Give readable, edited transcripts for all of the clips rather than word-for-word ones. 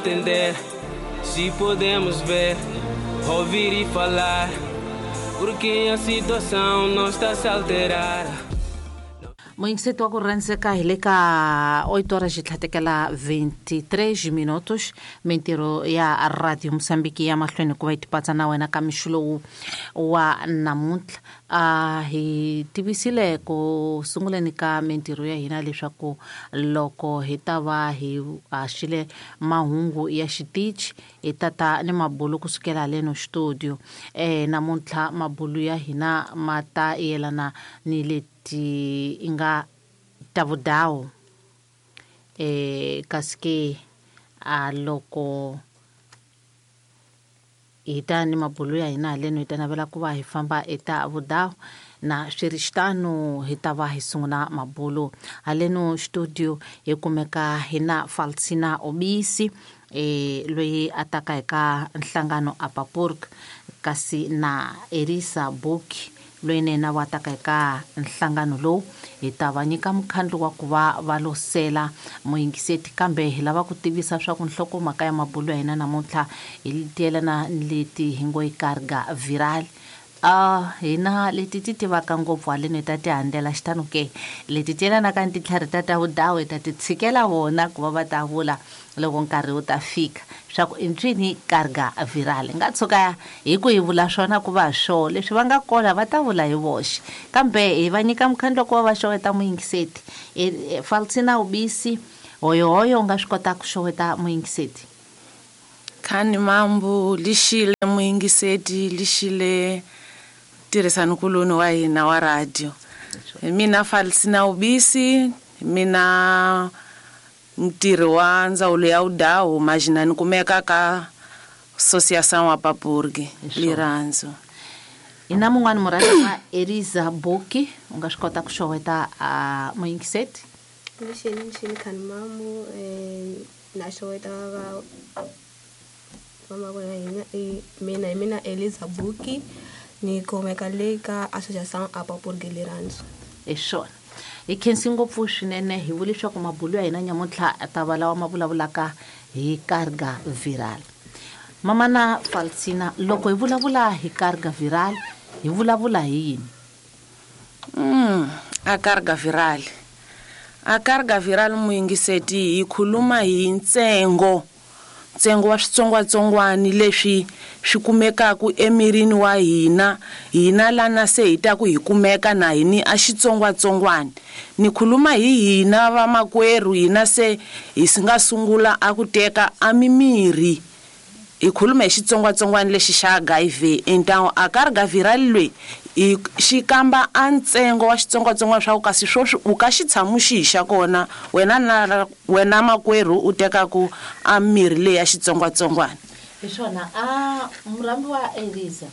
Entender se podemos ver, ouvir e falar, porque a situação não está a se alterar. Muyingiseti wa ku rhandzeka, hi le ka 8 horas xi tlhatekela 23 minutos. Mintirho ya Radio Mosambiki ya mahlweni ku va yi tipatsa na wena ka mixo lowu wa namuntlha. A hi tivisile ku sunguleni ka mintirho ya hina leswaku loko hi ta va hi haxile mahungu ya xitichi, hi tata ni mabulu kusukela haleno studio. Namuntlha mabulu ya hina ma ta yelana ni leti nga ta vudawu. Kasi ke a loko hi ta ni mabulu ya hina haleno, hi ta navela ku va hi famba eta vudawu na swi ri xitano, hi ta va hi sungula mabulu haleno studio. Hi kumeka hi na Falsina Obisi, loyi a taka hi ka nhlangano Apapurg, kasi na Elisa Buki, loyi na yena wa taka eka nhlangano lowu. Hi ta va nyika mukhandlu wa ku va va losela muyingiseti, kambe hi lava ku tivisa swa ku nhlokomhaka ya mabulu ya hina namuntlha hi tiyelana ni leti hi ngo yi carga viral. Hina leti ti tivaka ngopfu haleni hi ta ti handzela xitano ke, leti ti yelanaka ni tintlhari ta ta vudawu hi ta ti tshikela vona ku va va ta vula loko nkarhi wu ta fika swa ku i ncini carga viral. Nga tshuka hi ku hi vula swona ku va swo leswi va nga kona va ta vula hi voxe, kambe hi va nyika mukhandlu ku va va xeweta muyingiseti. Falsina Ubisi, hoyohoyo, u nga swi kota ku xeweta muyingiseti? Khani mambu, lixile muyingiseti, lixile tirhisani kuloni wa hina wa radio. Hi mina Falsina Ubisi, mina ntirhi wa ndzawulo ya vudawu, majina ni kumeka ka Associação Apapurg Lirandzu. Hi na mun'wani murhandzi wa Eliza Buki, u nga swi kota ku xeweta a muyingiseti? Lixini, lixini khani mambu, na xeweta va vamakwerhu hina. Mina hi mina Eliza Buki, ni kumeka le ka Associação Apapurg Lirandzu. Hi swona, hi khensi ngopfu swinene. Hi vule leswaku mabulu ya hina nyamuntlha ta va lawa ma vulavulaka hi carga viral. Mamana Falsina, loko hi vulavula hi carga viral, hi vulavula hi yini? A carga viral, a carga viral muyingiseti, hi khuluma hi ntsengo wa switsongwatsongwani leswi swi kumekaka emirini wa hina, hina lana se hi ta ku hi kumeka na hini a xitsongwatsongwani. Ni khuluma hi hina vamakwerhu, hina se hi si nga sungula a ku teka a mimirhi, hi khuluma hi xitsongwatsongwana lexi xa HIV. Entawu a carga viral loyi hi xi kamba a ntsengo wa xitsongwatsongwana swa ku kasi swoswi u ka xitshamu xihi xa kona wena na wena makwerhu u tekaku a mirhi leyi ya xitsongwatsongwana. Hi swona, a murhambi wa Eliza,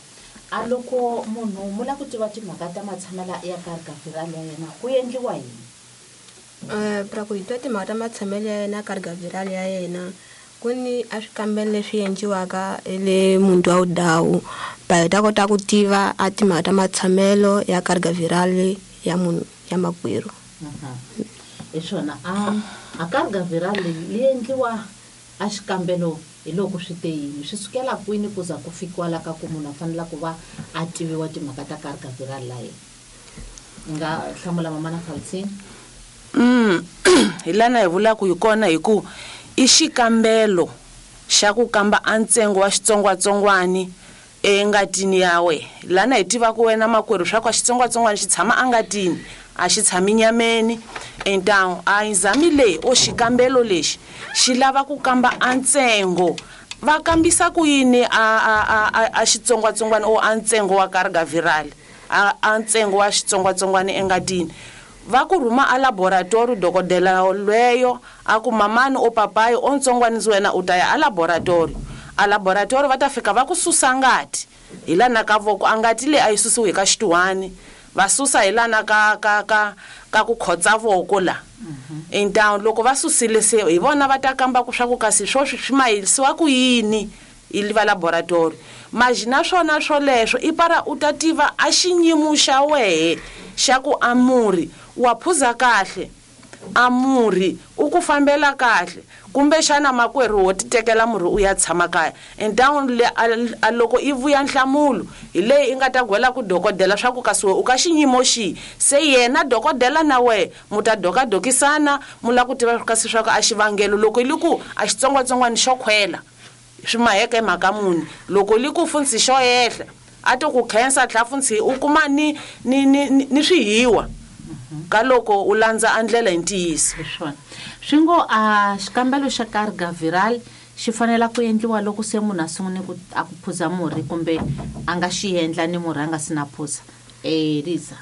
a loko munhu mu lava ku tiva timhaka ta matshamela ya carga viral ya yena, ku endliwa yini? Pra ku hi twa timhaka ta matshamelo ya yena carga viral ya yena, ku ni a swikambelo leswi endliwaka le muti wa vudawu, va hi ta kota ku tiva a timhaka ta matshamelo ya carga viral ya munhu ya makwerhu. Hi swona, a carga viral leyi yi endliwa a xikambelo hi loko swi te yini, swi sukela kwini ku za ku fikiwa la ka ku munhu a fanela ku va a tiviwa timhaka ta carga viral la yena? Nga hlamula mamana Falsina. Hi lana hi vulaka hi kona hi ku i xikambelo xa ku kamba a ntsengo wa xitsongwatsongwani engatini ya wena. Lana hi tivaka wena makwerhu swa ku xitsongwatsongwana xi tshama angatini, a xi tshami nyameni. Entawu a exame leyi o xikambelo lexi xi lava ku kamba a ntsengo. Va kambisa ku yini a xitsongwatsongwana o a ntsengo wa carga viral, a ntsengo wa xitsongwatsongwana engatini? Va ku rhuma a laboratory, dokodela lweyo a ku mamani o papayi o ntsongwanisi wena u ta ya a laboratory. A laboratory va ta fika va ku susa ngati hi lana ka voko. A ngati leyi a yi susiwi hi ka xituhwani, va susa hi lana ka ku khotsa voko la. Entawu loko va susile se hi vona va ta kamba ku swa ku kasi swoswi swi mahisiwa ku yini hi va laboratory. Majina swona swoleswo i para u ta tiva a xiyimo xa wehe xa ku a murhi wa phuza kahle. a murhi u ku fambela kahle kumbexana makwerhu wo titekela murhi u ya tshama kaya entangu a loko i vuya nhlamulo hi leyi i nga ta gwela ku dokodela swa ku kasi we u ka xinyimo xihi se yena dokodela na wehe mu ta dokadokisana mu lava ku tiva kasi swa ku a xivangelo loko i li ku a xitsongwatsongwana xo khwela swi maheka hi mhaka muni loko li ku funtsi xo yehla a to ku khensa tlha funtsi u kuma ni ni ni ni swihiwa ka loko u landza a ndlela hi ntiyiso. Hi swona swi ngo a xikambelo xa carga viral xi fanela ku endliwa loko se munhu a sungune ku a ku phuza murhi kumbe a nga xi endla ni murhi a nga si na phuza Eliza.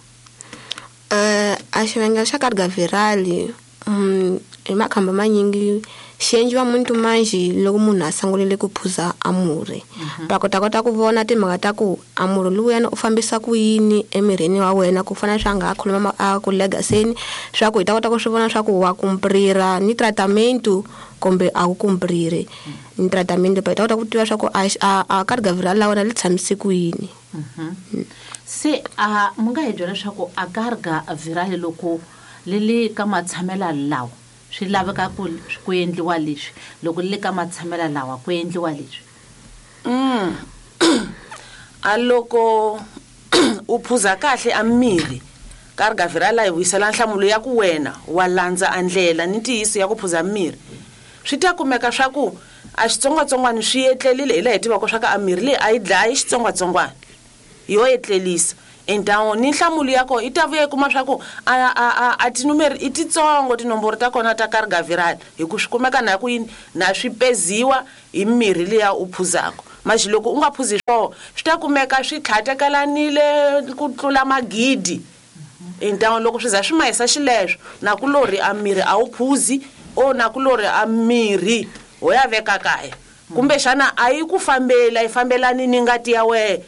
A xivangelo xa carga viral hi makhamba manyingi xi endliwa muntu manjhe loko munhu a sungulile ku phuza a murhi va kota kota ku vona timhaka ta ku a murhi lowuyani u fambisa ku yini emirini wa wena ku fana swa nga ha khuluma a ku legaseni swa ku hi ta kota ku swi vona swa ku wa kumprira ni tratamento kumbe a wu kumpriri ni tratamento hi ta kota ku tiva swa ku a carga viral la wena li tshamise ku yini. Se a mu nga hi byela leswaku a carga viral loko li le ka matshamela lawa swi laveka ku ku endliwa leswi loko li le ka matshamela lawa ku endliwa leswi. A loko u phuza kahle a mirhi carga viral yi vuyisela nhlamulo ya ku wena wa landza a ndlela ni ntiyiso ya ku phuza mirhi swi ta kumeka swa ku a xitsongwatsongwana swi etlelile hi laha hi tivaka swa ku a mirhi leyi a yi dlayi xitsongwatsongwana yo etlelisa entangu ni nhlamulo ya kona i ta vuya i kuma swa ku a tinumeri i titsongo tinomboro ta kona ta carga viral hi ku swi kumeka na ku yini na swi peziwa hi mirhi liya u phuzaka maxi loko u nga phuzi swoho swi ta kumeka swi tlhatekelanile ku tlula magidi entangu loko swi za swi mahisa xileswo na ku lori a mirhi a wu phuzi o na ku lori a mirhi ho ya veka kaya kumbexana a yi ku fambeli a yi fambelani ni ngati ya wehe.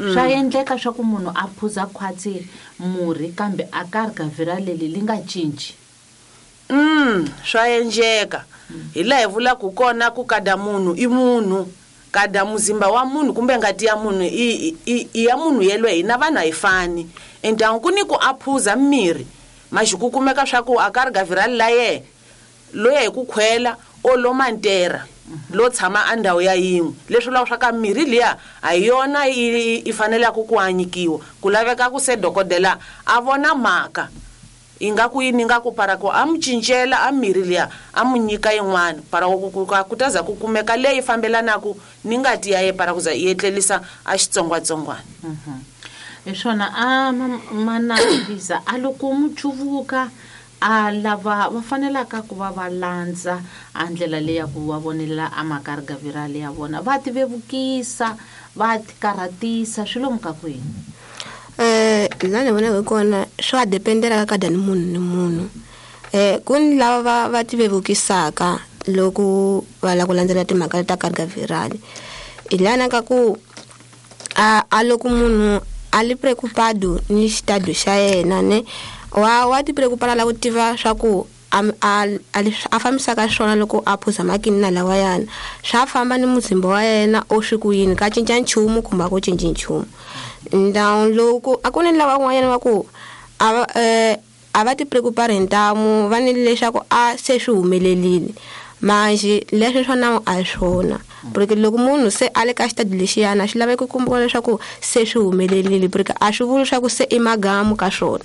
Swa endleka swa ku munhu a phuza khwatsi murhi kambe a carga viral leli li nga cinci. Swa endleka hi laha hi vulaka kona ku kada munhu i munhu kada muzimba wa munhu kumbe ngati ya munhu i ya munhu yelwe hina vanhu a hi fani entangu ku ni ku a phuza mirhi maxi ku kumeka swa ku a carga viral la yehe loya hi ku khwela o lo mantera lo tshama a ndhawu ya yin'we leswi vulaka swa ka mirhi liya a hi yona i fanelaka ku anyikiwa ku laveka ku se dokodela a vona mhaka i nga ku yini nga ku para ku a mu cincela a mirhi liya a mu nyika yin'wana para ku ta za ku kumeka leyi fambelanaka ni ngati ya ye para ku za yi etlelisa a xitsongwatsongwana. Hi swona a mana Liza a loko mu cuvuka a lava va fanelaka ku va va landza a ndlela leyi ya ku va vonelela a macarga viral ya vona va ti vevukisa va ti karhatisa swi lomu ka kwini. La ni vonaka kona swa dependela ka kada ni munhu ni munhu ku ni lava va ti vevukisaka loko va lava ku landzela timhaka ta carga viral hi lana ka ku a loko munhu a li preocupado ni xitado xa yena ne wa ti preocupara la ku tiva swa ku a fambisaka swona loko a phuza makinina lawayana swa famba ni muzimba wa yena o swi ku yini ka cinca nchumu kumbe a ku cinci nchumu. Ndhawu loko a ku ni lava van'wanyana va ku a va ti preocupari hi ntamu va ni leswaku a se swi humelelile manjhe leswi swa nawu a hi swona porque loko munhu se a le ka xitadi lexiyana swi laveka ku vona leswaku se swi humelelile porque a swi vuli leswaku se i magamu ka swona.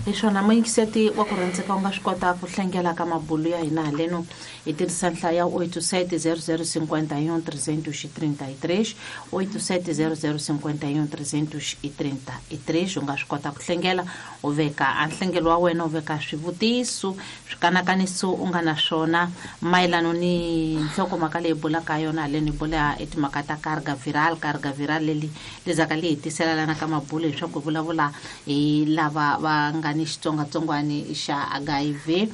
Hi swona muyingiseti wa ku rhandzeka u nga swi kota ku hlengela ka mabulu ya hina haleno hi tirhisa nhlayo ya 870051 333 870051 333 u nga swi kota ku hlengela u veka a nhlengelo wa wena u veka swivutiso swikanakaniso u nga na swona mayelano ni nhlokomhaka leyi bulaka yona haleno hi bula i timhaka ta carga viral carga viral leli lezaka li hi tisela lana ka mabulu leswaku hi vulavula hi lava va nga ni xitsongwatsongwana xa HIV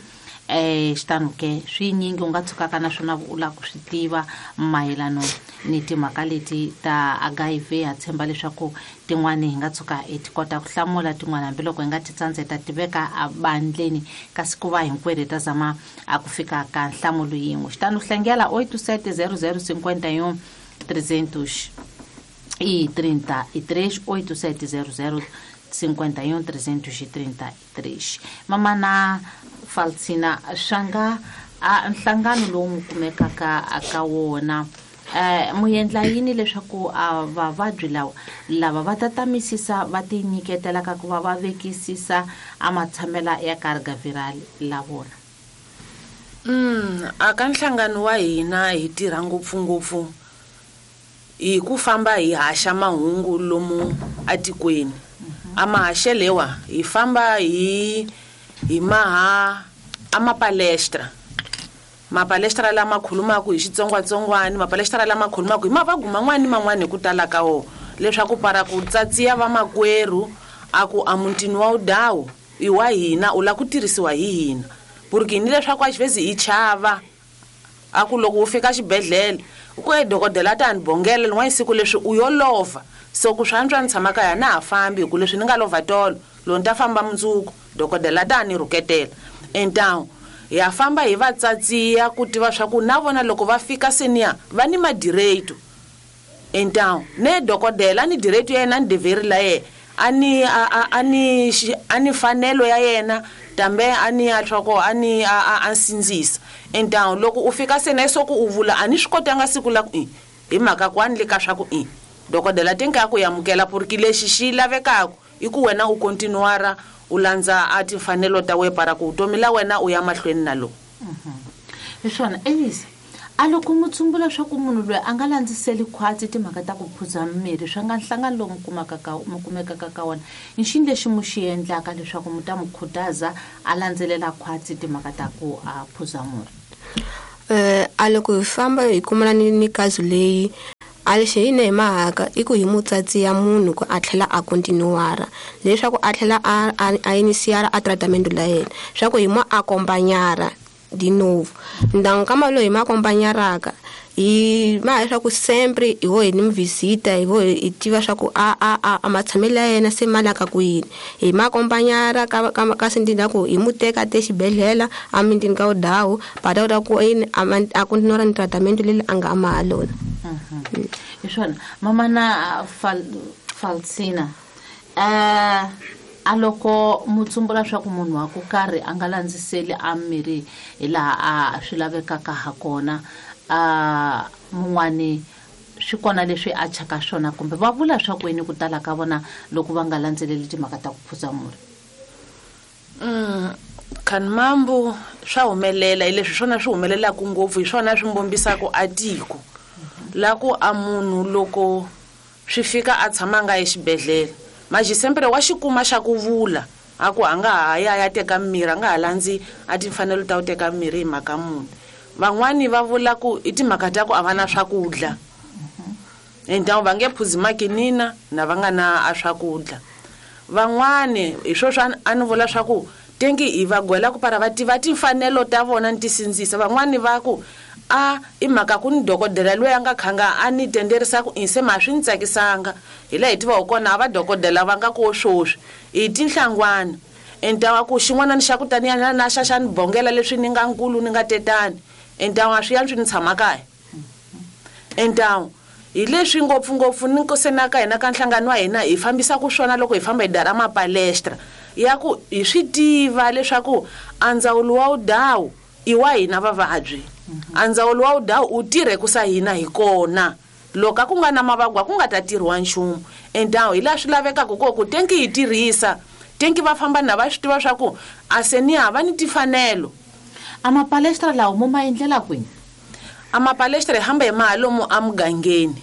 xitano ke swinyingi u nga tshukaka na swona u lava ku swi tiva mayelano ni timhaka leti ta HIV ha tshemba leswaku tin'wani hi nga tshuka hi ti kota ku hlamula tin'wani hambiloko hi nga ti tsandza hi ta ti veka ebandleni kasi ku va hinkwerhu hi ta zama a ku fika ka nhlamulo yin'we xitano hlengela 870051 333 8700 51 333. Mamana Falsina, swanga a nhlangano lowu mu kumekaka ka wona, mu endla yini leswaku a vavabyi lawa lava va tatamisisa va tinyiketela ka ku va va vekisisa a matshamela ya carga viral la vona? A ka nhlangano wa hina hi tirha ngopfungopfu hi ku famba hi haxa mahungu lomu atikweni. A mahaxelewa hi famba hi maha a mapalestra, mapalestra lama khulumaka hi xitsongwatsongwana, mapalestra lama khulumaka hi mavabyi man'wani ni man'wani hi ku tala ka wona, leswaku para ku tsatsiya vamakwerhu a ku a mutini wa wudawu i wa hina, u lava ku tirhisiwa hi hina. Porque ni leswaku a xivezi hi chava a ku loko u fika xibedhlele ku e dokodela ta ni bongela lin'wana siku leswi u yo lova, so ku swi antswa ni tshama kaya na ha fambi, hi ku leswi ni nga lova tolo loko ni ta famba mundzuku dokodela ta ni rhuketela. Entawu ya famba hi va tsatsiya ku tiva swa ku na vona loko va fika seniya va ni madireto. Entawu ne dokodela ni direto ya yena ni deveri la yena a ni a ni a ni fanelo ya yena tambe a ni ya tlhoko a ni a sindzisa. Entawu loko u fika seniya so ku u vula a ni swi kotanga siku la ku i hi mhaka ku a ni le ka swa ku i dokodela tenka ku amukela porque lexi xi lavekaka i ku wena u continuara u landza a timfanelo ta wena para ku vutomi la wena u ya mahlweni na lo. Hi swona Elisa, a loko mu tsumbula swa ku munhu loyi a nga landziseli khwatsi timhaka ta ku phuza mirhi swa nga nhlangano lowu mu kumekaka ka wona, i xini lexi mu xi endlaka leswaku mu ta mu khutaza a landzelela khwatsi timhaka ta ku a phuza murhi? A loko hi famba hi kumana ni kazu leyi a lexi hi ne hi mahaka i ku hi mutsatsi ya munhu ku a tlhela a continuara leswaku a tlhela a initiara a tratament la yena, swa ku hi mo accompagnara de novo. Então kama loyi hi ma accompagnaraka hi ma leswaku sempre hi ho hi ni visita, hi ho hi tiva swa ku a matshamelo ya yena se ma laka ku yini. Hi ma accompagnara ka sendina ku hi mu teka te xibedhlele a mintini ka wudawu ba ta kota ku yini a continuara ni tratament leyi a nga ma ha lona. Hi swona mamana Falsina, a loko mu tsumbula swa ku munhu wa ku karhi a nga landziseli a mirhi hi laha a swi lavekaka ha kona, a mun'wani swi kona leswi a chaka swona kumbe va vula swa ku yini ku tala ka vona loko va nga landzeleli timhaka ta ku phuza murhi? Khanimambu swa humelela hi leswi swona swi humelelaka ngopfu, hi swona swi mbombisaka a tiko la ku a munhu loko swi fika a tshama nga exibedhlele maji sempre wa xikuma xa ku vula a ku a nga ha ya ya teka mirhi, a nga ha landzi a timfanelo ta ku teka mirhi hi mhaka munhu. Van'wani va vula ku i timhaka ta ku a va na swakudya, entawu va nge phuzi makinina na va nga na a swakudya. Van'wani hi sweswo a ni vula swa ku tengi hi va gwela ku para va tiva timfanelo ta vona ni ti sindzisa. Van'wani va ku a i mhaka ku ni dokodela loyi a nga khanga a ni tenderisa ku se ma swi ni tsakisanga, hi laha hi tivaka kona a va dokodela va nga ko swoswi i tinhlangwana. Entawa ku xin'wana ni xa ku taniya na xa xa ni bongela leswi ni nga nkulu ni nga tetani, entawa swi yantswi ni tshama kaya. Entawa hi leswi ngopfungopfu ni nkosenaka hina ka nhlangano wa hina hi fambisaka swona loko hi famba hi dara mapalestra ya ku hi swi tiva leswaku a ndzawulo wa wudawu i wa hina vavabyi, a ndzawulo wa wudawu u tirhe ku sa hina hi kona. Loko a ku nga na mavabyi a ku nga ta tirhiwa nchumu. Entawu hi laha swi lavekaka kona ku tenki hi tirhisa tenki va famba na va swi tiva swa ku a se ni hava ni timfanelo. A mapalestra lawa mo ma endlela kwini? A mapalestra hi hamba hi ma lomu emugangeni.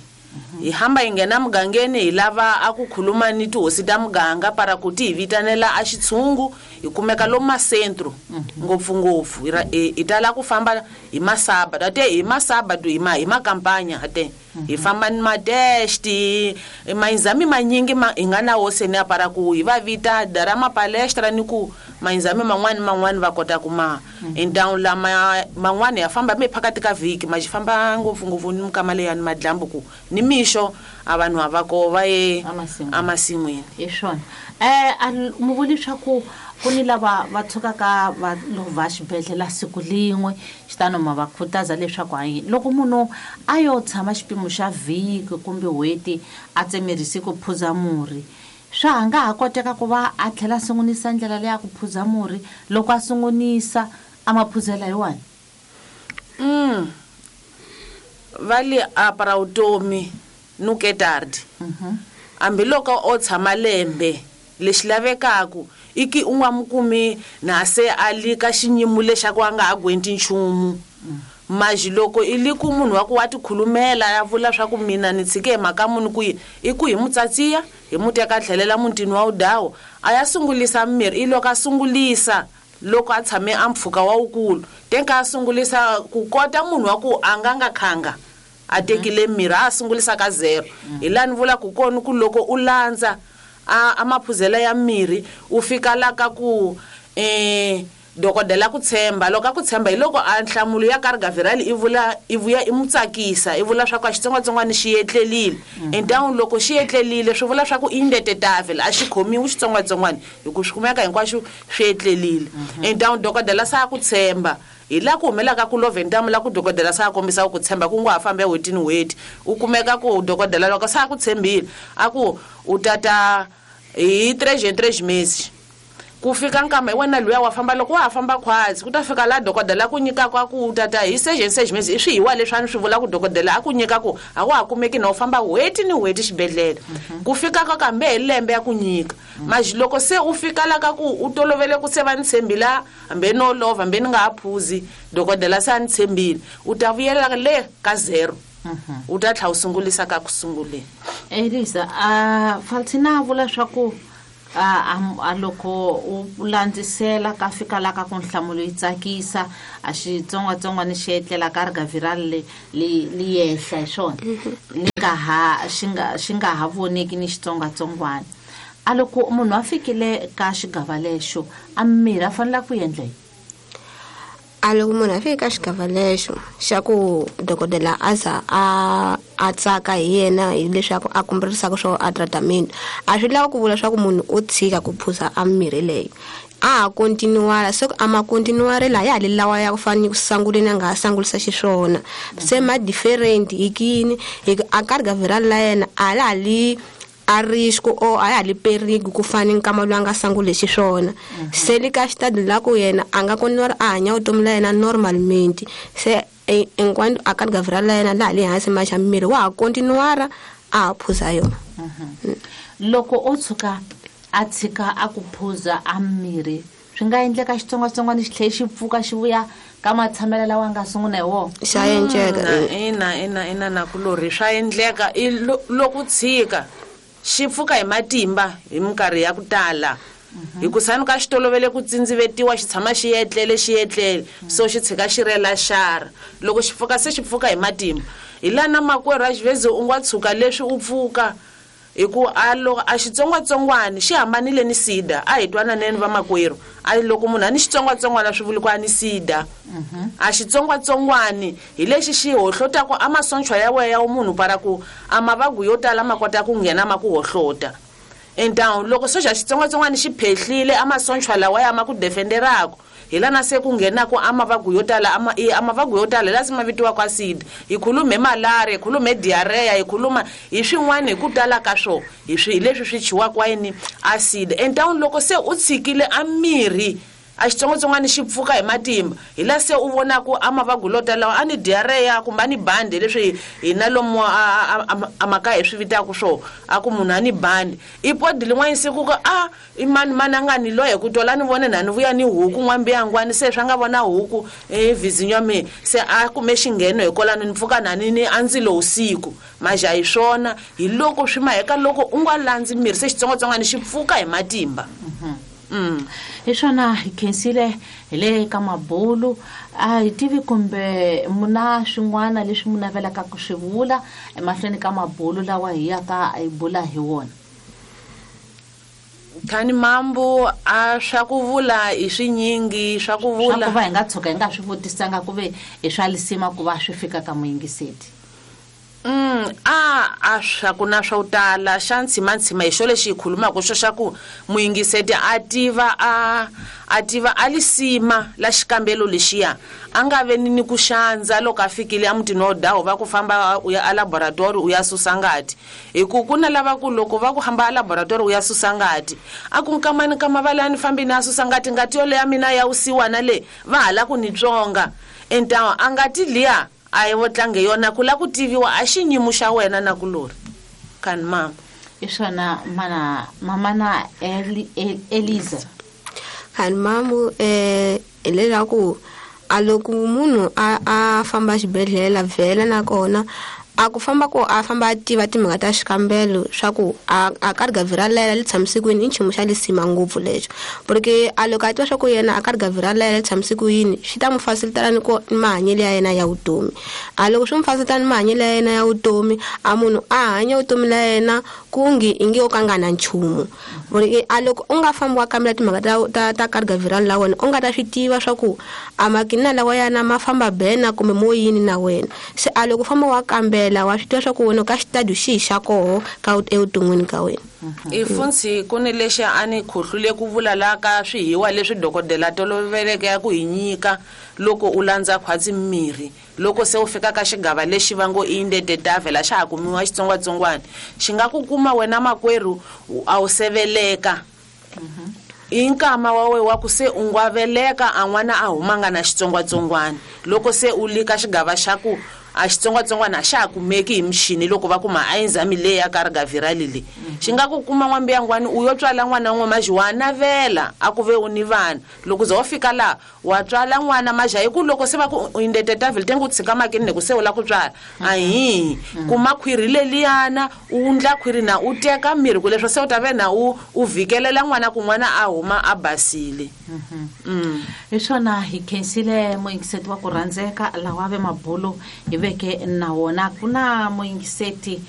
Hi hamba hi nghena mugangeni hi lava a ku khuluma ni tihosi ta muganga para ku ti hi vitanela a xitshungu, hi kumeka lomu masentro ngopfungopfu. Hi tala ku famba hi masabado, ate hi masabado hi ma hi makampanya ate hi famba ni matest, mainzami manyingi hi nga na wo seni para ku hi va vita dara mapalestra ni ku mainzami man'wani man'wani va kota ku ma. Entawu lama man'wani ya famba mi phakati ka vhiki, ma xi famba ngopfungopfu ni mikama leya ni madlambu ku ni mixo a vanhu a va ko va ye emasin'wini. Hi swona. Mu vuli swa ku ku ni lava va tshukaka va lova xibedhlele siku lin'we, xitano ma va khutaza leswaku hayi loko munhu a yo tshama xipimo xa vhiki kumbe n'hweti a tsemerisi ku phuza murhi, Swa nga ha koteka ku va a tlhela a sungunisa ndlela leyi a ku phuza murhi loko a sungunisa a ma phuzela hi wani? Va li apara vutomi nuketardi. Hambiloko o tshama lembe lexi lavekaku i ki u nga mu kumi na se a li ka xinyimu lexaku a nga ha gwenti nchumu. Maji loko i li ku munhu wa ku wa tikhulumela ya vula swa ku mina ni tshike hi mhaka muni ku yi i ku hi mu tsatsiya hi mu teka tlhelela mutini wa wudawu a ya sungulisa mmirhi. I loko a sungulisa loko a tshame a mpfhuka wa wukulu tenka a sungulisa ku kota munhu wa ku a nga nga khanga a tekile mirhi a sungulisa ka zero. Hi laha ni vula ku kona ku loko u landza a maphuzela ya mirhi u fika la ka ku dokodela ku tshemba. Loko a ku tshemba hi loko a nhlamulo ya carga viral i vula i vuya i mu tsakisa i vula swa ku a xitsongwatsongwana xi etlelile. Entangu loko xi etlelile swi vula swa ku i ndetetavela a xi khomiwi xitsongwatsongwana hi ku swi kumeka hinkwaswo swi etlelile. Entangu dokodela sa ku tshemba hi laha ku humelaka ku love ntamu la ku dokodela sa kombisa ku tshemba ku ngo ha fambe n'hweti ni n'hweti. U kumeka ku dokodela loko sa ku tshembile a ku u tata hi 3 meses ku fika nkama hi wena luya wa famba loko wa ha famba khwatsi ku ta fika laha dokodela ku nyikaka a ku tata hi 6 meses i swihiwa leswi a ni swi vula ku dokodela a ku nyika ku a wa ha kumeki na u famba n'hweti ni n'hweti xibedhlele. Ku fika ka kambe hi lembe ya ku nyika. Maji loko se u fika la ka ku u tolovele ku se va ni tshembila hambi no lova hambi ni nga ha phuzi dokodela se a ni tshembile u ta vuyela le ka 0. U ta tlhela u sungulisa ka ku sunguleni. Elisa a Faltina vula swa ku a loko u landzisela ka fika la ka ku nhlamulo yi tsakisa a xitsongwatsongwana xi etlela ka carga viral li yehla hi swona li nga ha xi nga ha voneki ni xitsongwatsongwana. A loko munhu a fikile ka xigava lexo a mirhi a fanele ku endla yini? A loko munhu a fike ka xigava lexo xa ku dokodela a za a tsaka hi yena hileswaku a kumberisaka swo a tratament a swi lava ku vula swa ku munhu o tshika ku phuza a mirhi leyi a ha continuara se a ma continuare la ya le lawa ya ku fana ni ku sanguleni a nga ha sangulisa xiswona. Se ma different hi kini hi a carga viral la yena a la li a risk o a ya li perigo ku fana nkama lowu a nga sangule xiswona. Se le ka xitadi la ku yena a nga kona a hanya vutomi la yena normalmente se enquanto a carga viral la yena laha le hansi ma xa miri wa ha continuara a phuza yona. Loko o tshuka a tshika a ku phuza a mirhi swi nga endleka xitsongwatsongwana xi tlhela xi pfuka xi vuya ka matshamelo lawa nga sungula hi wona? Xa endleka. Ina na kulorhi swa endleka i loko tshika xi pfuka hi matimba hi minkarhi ya ku tala. Hi ku sani ka xi tolovele ku tsindzivetiwa xi tshama xi etlele xi etlele so xi tshika xi rela xara. Loko xi pfuka se xi pfuka hi matimba. Hi laha na makwerhu a xivezi u nga tshuka leswi u pfuka hi ku a loko a xitsongwatsongwana xi hambanile ni sida. A hi twananeni va makwerhu a loko munhu a ni xitsongwatsongwana swi vuli ku a ni sida. A xitsongwatsongwani hi lexi xi hohlotaka a masochwa ya wena ya munhu para ku a mavabyi yo tala ma kota ku nghena ma ku hohlota. Entangu loko soxa xitsongwatsongwana xi phehlile a masochwa lawa ya ma ku defenderaka hi lana se ku nghenaka a mavabyi yo tala a mavabyi yo tala la se ma vitiwaka acid. Hi khulume hi malaria, hi khulume hi diarrhea, hi khuluma hi swin'wana hi ku tala ka swo hi swi leswi swi chiwaka yini acid. Entangu loko se u tshikile a mirhi a xitsongwatsongwana xi pfuka hi matimba hi laha se u vonaka a mavabyi lo tala a ni diarrhea kumbe a ni bandi leswi hina lomu a makaya hi swi vitaka swo a ku munhu a ni bandi. I podi lin'wana siku ku a i mani mani a nga ni loye ku tola ni vone na ni vuya ni huku n'wambiyangwani se swa nga vona huku vhizinyo me se a kume xingheno hikwalano ni pfuka na ni a ndzi lo usiku. Maja hi swona hi loko swi maheka loko u nga landzi mirhi se xitsongwatsongwana xi pfuka hi matimba. Hi swona hi khensile hi le ka mabulu. A hi tivi kumbe muna swin'wana leswi mu navelaka ku swi vula emahlweni ka mabulu lawa hi yaka hi bula hi wona? Thani mambo a swa ku vula i swinyingi swa ku vula. Swa ku va hi nga tshuka hi nga swi vutisanga ku ve i swa lisima ku va swi fika ka muyingiseti. A swa ku na swo tala xa ntshimantshima hi xo lexi hi khulumaka xo xa ku muyingiseti a tiva a tiva a lisima la xikambelo lexiya, a nga ve ni ku xandza loko a fikile emutini wa dawu va ku famba u ya alaboratori u ya susa ngati, hi ku ku na lava ku loko va ku hamba alaboratori u ya susa ngati, a ku nkama ni nkama va la ni fambi ni ya susa ngati, ngati yoleyo ya mina ya wusiwana le va hala ku ni tsonga entawa a ngati liya a yi vo tlange yona ku la ku tiviwa a xinyimu xa wena na kulori kani mama. Hi swona mana mamana Eliza. Khani mamu, hileswaku a loko munhu a famba xibedhlele vhela nakona a ku famba ku a famba a tiva timhaka ta xikambelo swa ku a karhi ra lela li tshamise ku yini, i nchumu xa lisima ngopfu lexo, porque a loko a tiva swa ku yena a karhi ra lela li tshamise ku yini, swi ta n'wi facilitela ni ku ni mahanyelo ya yena ya vutomi. A loko swi n'wi facilitela ni mahanyelo ya yena ya vutomi, a munhu a hanya vutomi la yena ku ngi i nge o ka nga na nchumu, porque a loko u nga fambi wa kambela timhaka ta karhi ra la wena, u nga ta swi tiva swa ku a makina lawa yana ma famba bena kumbe mo yini na wena. Se a loko u famba wa kambela wa swi tiva swa ku wena ka xitadiyo xihi xa koho ka evuton'wini ka wena. I funsi ku ni lexi a ni khohlule ku vula la ka swihiwa leswi dokodela toloveleke ya ku hi nyika loko u landza khwatsi mirhi, loko se u fika ka xigava lexi va ngo i ndetetavhela xa ha kumiwa xitsongwatsongwana xi nga ku kuma wena makwerhu a wu seveleka i nkama wa we wa ku se u nga veleka a n'wana a humanga na xitsongwatsongwana, loko se u li ka xigava xa ku a xitsongwatsongwana a xa ha kumeki hi michini loko va kuma a enzami leyi ya kargavirali leyi xi nga ku kuma n'wambiyangwani u yo tswala n'wana wun'we maji wa navela a ku ve u ni vana, loko za wo fika laha wa tswala n'wana maja hi ku loko se va ku u indetetavhele te ku tshika makini ne ku se u la ku tswala ahi kuma khwiri leliyana u ndla khwiri na u teka mirhi ku leswo se u ta ve na u vhikelela n'wana ku n'wana a huma a basile. Hi swona, hi khensile muyingiseti wa ku rhandzeka lawa ve mabulo hi veke na wona ku na muyingiseti.